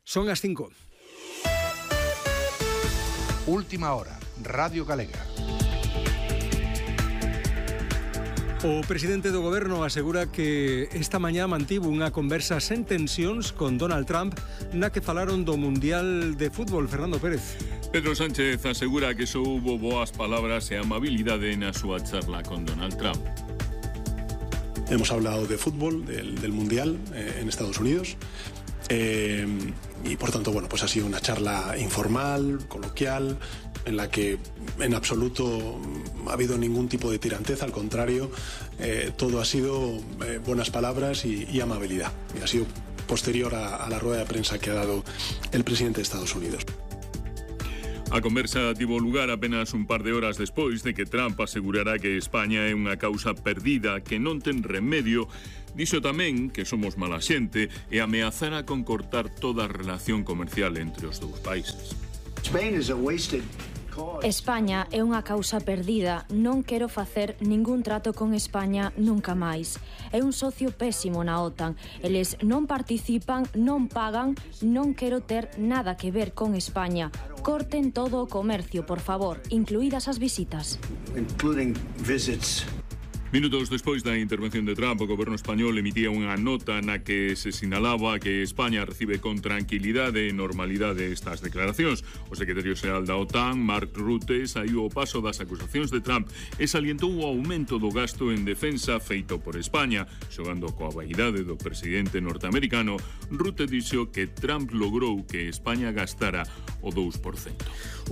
Son as 5. Última hora, Radio Galega. O presidente do goberno asegura que esta mañá mantivo unha conversa sen tensións con Donald Trump na que falaron do Mundial de Fútbol. Fernando Pérez. Pedro Sánchez asegura que só hubo boas palabras e amabilidade na súa charla con Donald Trump. Hemos hablado de fútbol, del Mundial en Estados Unidos. Y por tanto, bueno, pues ha sido una charla informal, coloquial, en la que en absoluto ha habido ningún tipo de tirantez, al contrario, todo ha sido buenas palabras y amabilidad. Y ha sido posterior a la rueda de prensa que ha dado el presidente de Estados Unidos. A conversa tivo lugar apenas un par de horas despois de que Trump asegurara que España é unha causa perdida que non ten remedio. Dixo tamén que somos mala xente e ameazara con cortar toda a relación comercial entre os dous países. España é unha causa perdida, non quero facer ningún trato con España nunca máis. É un socio pésimo na OTAN. Eles non participan, non pagan, non quero ter nada que ver con España. Corten todo o comercio, por favor, incluídas as visitas. Minutos despois da intervención de Trump, o goberno español emitía unha nota na que se sinalaba que España recibe con tranquilidade e normalidade estas declaracións. O secretario xeral da OTAN, Mark Rutte, saiu ao paso das acusacións de Trump e salientou o aumento do gasto en defensa feito por España. Xogando coa vaidade do presidente norteamericano, Rutte dixo que Trump logrou que España gastara o 2%.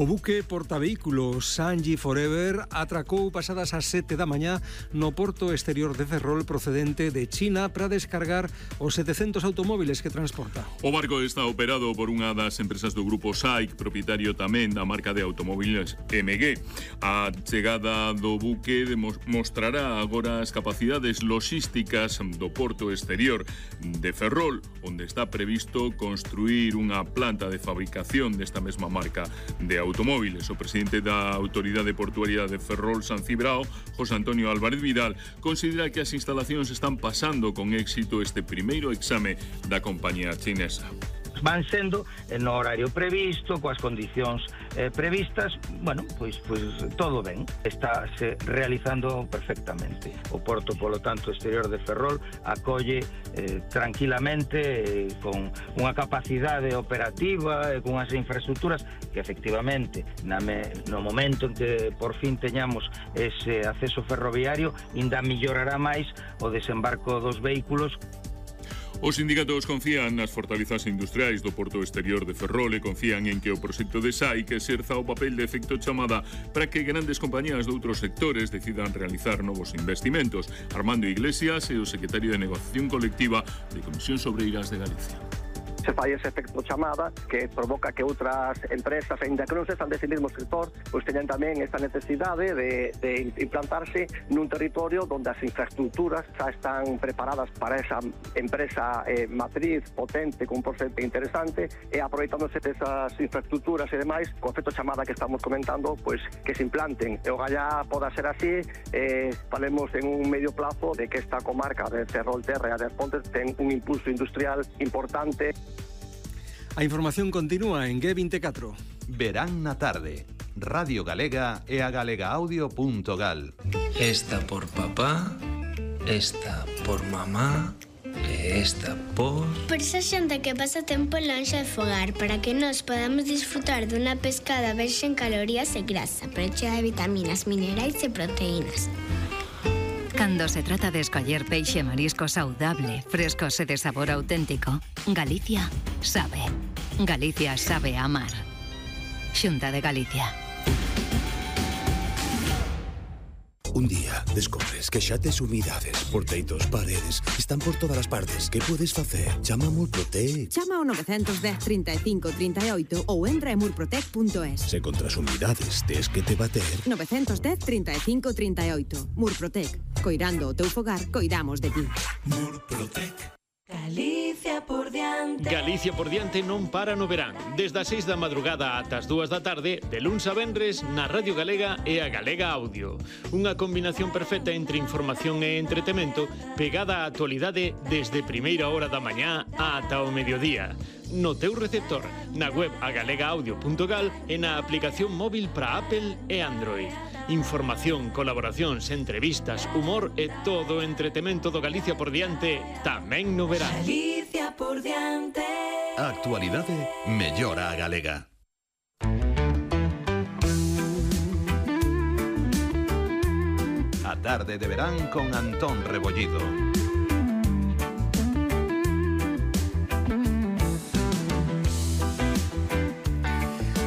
O buque portavehículos Sanji Forever atracou pasadas as 7 da mañá no porto exterior de Ferrol procedente de China para descargar os 700 automóviles que transporta. O barco está operado por unha das empresas do grupo SAIC, propietario tamén da marca de automóviles MG. A chegada do buque mostrará agora as capacidades logísticas do porto exterior de Ferrol, onde está previsto construir unha planta de fabricación desta mesma marca de automóviles. O presidente da Autoridade Portuaria de Ferrol, San Cibrao, José Antonio Álvarez Vidal, considera que as instalacións están pasando con éxito este primeiro exame da compañía chinesa. Van sendo no horario previsto, coas condicións previstas, bueno, pois todo ben, está se realizando perfectamente. O porto, polo tanto, exterior de Ferrol acolle tranquilamente con unha capacidade operativa e con as infraestructuras que efectivamente no momento en que por fin teñamos ese acceso ferroviario ainda mellorará máis o desembarco dos vehículos. Os sindicatos confían nas fortalezas industriais do porto exterior de Ferrol e confían en que o proxecto de SAIC exerza o papel de efecto chamada para que grandes compañías de outros sectores decidan realizar novos investimentos. Armando Iglesias é o secretario de Negociación Colectiva de Comisións Obreiras de Galicia. Se fai ese efecto chamada que provoca que outras empresas, ainda que non se están dese mesmo sector, pois teñan tamén esta necesidade de implantarse nun territorio onde as infraestructuras xa están preparadas para esa empresa matriz potente, con un porcentaje interesante, e aproveitándose desas infraestructuras e demais, co efecto chamada que estamos comentando, pois que se implanten. E ojalá poda ser así, falemos en un medio plazo de que esta comarca de Ferrolterra e das Pontes ten un impulso industrial importante. A información continúa en G24. Verán na tarde. Radio Galega e a galegaaudio.gal. Esta por papá, esta por mamá e esta por... Por esa xente que pasa tempo lonxe de fogar, para que nós podamos disfrutar dunha pescada verxe en calorías e grasa, pero chea de vitaminas, minerais e proteínas. Cando se trata de escoller peixe e marisco saudable, frescos e de sabor auténtico, Galicia sabe. Galicia sabe amar. Xunta de Galicia. Un día descobres que xa tes umidades por teitos, paredes, están por todas as partes. Que podes facer? Chama a Murprotec. Chama ao 910 35 38 ou entra en murprotec.es. Se contra as umidades tes que te bater. 910 35 38. Murprotec. Coidando o teu fogar, coidamos de ti. Murprotec. Galicia por diante. Galicia por diante non para no verán. Desde as 6 da madrugada ata as 2 da tarde, de luns a venres, na Radio Galega e a Galega Audio. Unha combinación perfecta entre información e entretemento, pegada á actualidade desde primeira hora da mañá ata o mediodía. No teu receptor, na web agalegaaudio.gal e na aplicación móvil para Apple e Android. Información, colaboracións, entrevistas, humor e todo o entretemento do Galicia por diante tamén no verán. Galicia por diante. A actualidade mellora a galega. A tarde de verán con Antón Rebollido.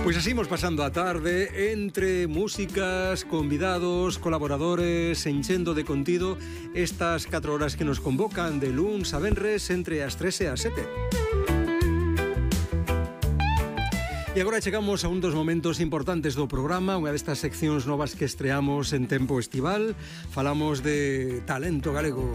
Pois así imos pasando a tarde entre músicas, convidados, colaboradores, enchendo de contido estas 4 horas que nos convocan de luns a venres entre as 3 e as 7. E agora chegamos a un dos momentos importantes do programa, unha destas seccións novas que estreamos en tempo estival. Falamos de talento galego.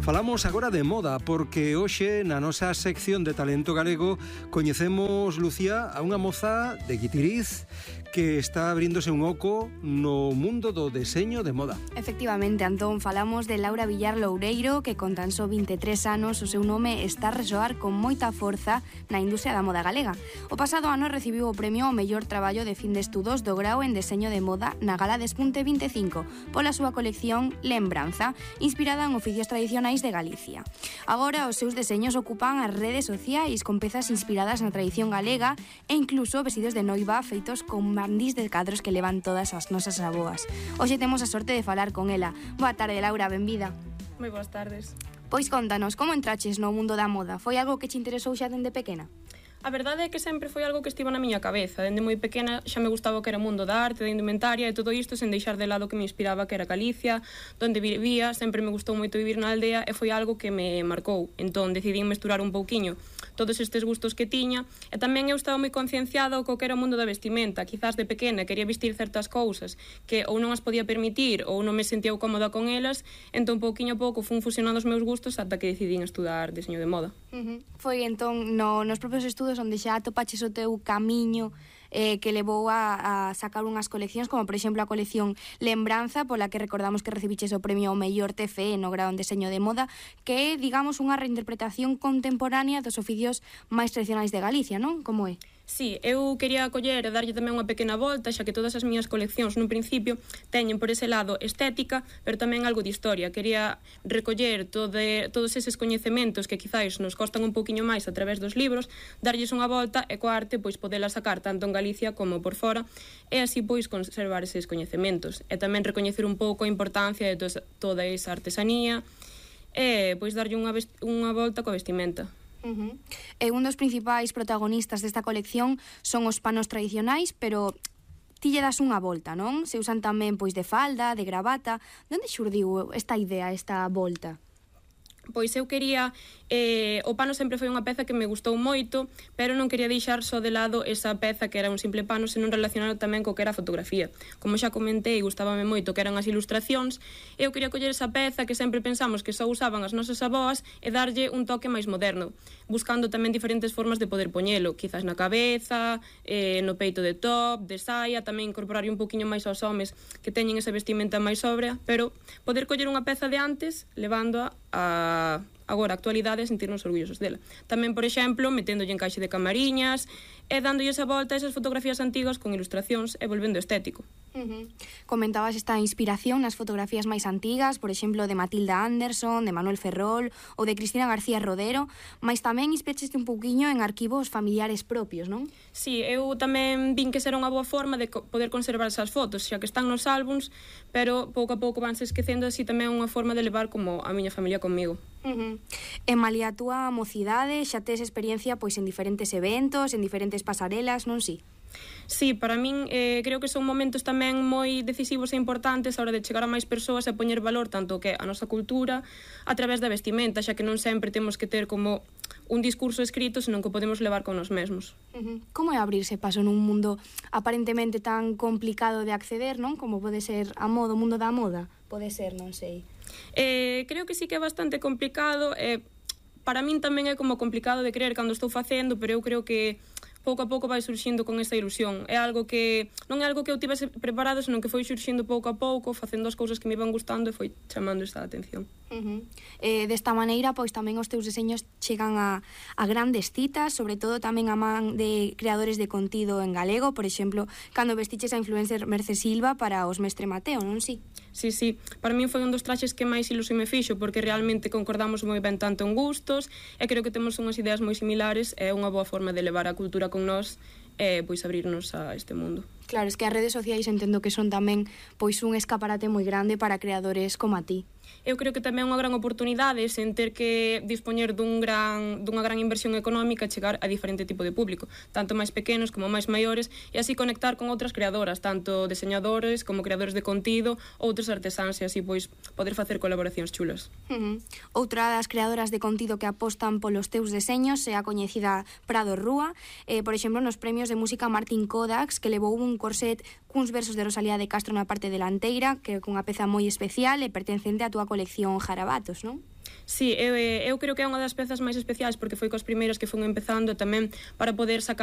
Falamos agora de moda, porque hoxe na nosa sección de talento galego coñecemos, Lucía, a unha moza de Guitiriz que está abríndose un oco no mundo do deseño de moda. Efectivamente, Antón, falamos de Laura Villar Loureiro, que con tan só 23 anos o seu nome está a resoar con moita forza na industria da moda galega. O pasado ano recibiu o premio ao mellor traballo de fin de estudos do grao en deseño de moda na Gala Despunte 25 pola súa colección Lembranza, inspirada en oficios tradicionais de Galicia. Agora os seus deseños ocupan as redes sociais con pezas inspiradas na tradición galega e incluso vestidos de noiva feitos con bandís de cadros que levan todas as nosas avoas. Hoxe temos a sorte de falar con ela. Boa tarde, Laura, benvida. Moi boas tardes. Pois contanos, como entraches no mundo da moda? Foi algo que te interesou xa dende pequena? A verdade é que sempre foi algo que estivo na miña cabeza. Dende moi pequena xa me gustaba o que era o mundo da arte, da indumentaria e todo isto sen deixar de lado que me inspiraba, que era Galicia, donde vivía. Sempre me gustou moito vivir na aldea e foi algo que me marcou. Entón decidí mesturar un pouquiño todos estes gustos que tiña e tamén eu estaba moi concienciada co que era o mundo da vestimenta. Quizás de pequena quería vestir certas cousas que ou non as podía permitir ou non me sentía cómoda con elas, entón pouquiño a pouco fun fusionando os meus gustos ata que decidín estudar diseño de moda. Foi entón nos propios estudos onde xa atopaches o teu camiño que levou a sacar unhas coleccións, como por exemplo a colección Lembranza, pola que recordamos que recibiches o premio ao mellor TFE no grao en deseño de moda, que é, digamos, unha reinterpretación contemporánea dos oficios máis tradicionais de Galicia, non? Como é? Sí, eu quería coller e darlle tamén unha pequena volta, xa que todas as miñas coleccións nun principio teñen por ese lado estética, pero tamén algo de historia. Quería recoller todos eses coñecementos que quizáis nos costan un poquinho máis a través dos libros, darlles unha volta e coa arte pois podela sacar tanto en Galicia como por fora e así pois conservar eses coñecementos e tamén recoñecer un pouco a importancia de toda esa artesanía e pois darlle unha volta coa vestimenta. E un dos principais protagonistas desta colección son os panos tradicionais, pero ti lle das unha volta, non? Se usan tamén pois de falda, de gravata. De onde xurdiu esta idea, esta volta? Pois eu quería, o pano sempre foi unha peza que me gustou moito, pero non quería deixar só de lado esa peza que era un simple pano, senón relacionado tamén co que era a fotografía. Como xa comentei, gustábame moito que eran as ilustracións, e eu quería coller esa peza que sempre pensamos que só usaban as nosas avoas e darlle un toque máis moderno, buscando tamén diferentes formas de poder poñelo, quizás na cabeza, no peito de top, de saia, tamén incorporar un poquinho máis aos homes que teñen esa vestimenta máis sobria, pero poder coller unha peza de antes, levándoa a agora a actualidade e sentirnos orgullosos dela. Tamén, por exemplo, meténdolle encaixe de camariñas e dándolle esa volta a esas fotografías antigas con ilustracións e volvendo estético. Comentabas esta inspiración nas fotografías máis antigas, por exemplo, de Matilda Anderson, de Manuel Ferrol ou de Cristina García Rodero, mas tamén inspiraste un pouquiño en arquivos familiares propios, non? Sí, eu tamén vin que era unha boa forma de poder conservar esas fotos, xa que están nos álbums, pero pouco a pouco vanse esquecendo, así tamén unha forma de levar como a miña familia comigo. E malia a túa mocidade, xa tes experiencia pois en diferentes eventos, en diferentes pasarelas, non si? Sí, para min creo que son momentos tamén moi decisivos e importantes a hora de chegar a máis persoas e poñer valor tanto que a nosa cultura a través da vestimenta, xa que non sempre temos que ter como un discurso escrito, senón que podemos levar con nos mesmos. Como é abrirse paso nun mundo aparentemente tan complicado de acceder, non? Como pode ser a moda, o mundo da moda? Pode ser, non sei. Creo que sí que é bastante complicado, para min tamén é como complicado de creer cando estou facendo, pero eu creo que pouco a pouco vai surxindo con esta ilusión. É algo que non é algo que eu tivese preparado, senón que foi surxindo pouco a pouco, facendo as cousas que me iban gustando e foi chamando esta atención. Desta maneira, pois tamén os teus deseños chegan a grandes citas, sobre todo tamén a man de creadores de contido en galego, por exemplo, cando vestiches a influencer Merce Silva para os Mestre Mateo, non si? Sí, para min foi un dos traxes que máis ilusión me fixo, porque realmente concordamos moi ben tanto en gustos, e creo que temos unhas ideas moi similares, é unha boa forma de levar a cultura con nós e pois abrirnos a este mundo. Claro, es que as redes sociais entendo que son tamén pois un escaparate moi grande para creadores como a ti. Eu creo que tamén é unha gran oportunidade sen ter que dispoñer dunha gran inversión económica e chegar a diferente tipo de público, tanto máis pequenos como máis maiores, e así conectar con outras creadoras, tanto diseñadores como creadores de contido, outros artesáns, e así pois poder facer colaboracións chulas. Outra das creadoras de contido que apostan polos teus deseños é a coñecida Prado Rúa, por exemplo, nos premios de música Martin Kodax, que levou un corset cuns versos de Rosalía de Castro na parte delanteira, que é cunha peza moi especial e pertencente á túa colección Jarabatos, non? Sí, eu creo que é unha das pezas máis especiais porque foi cos primeiros que fun empezando tamén para poder sacar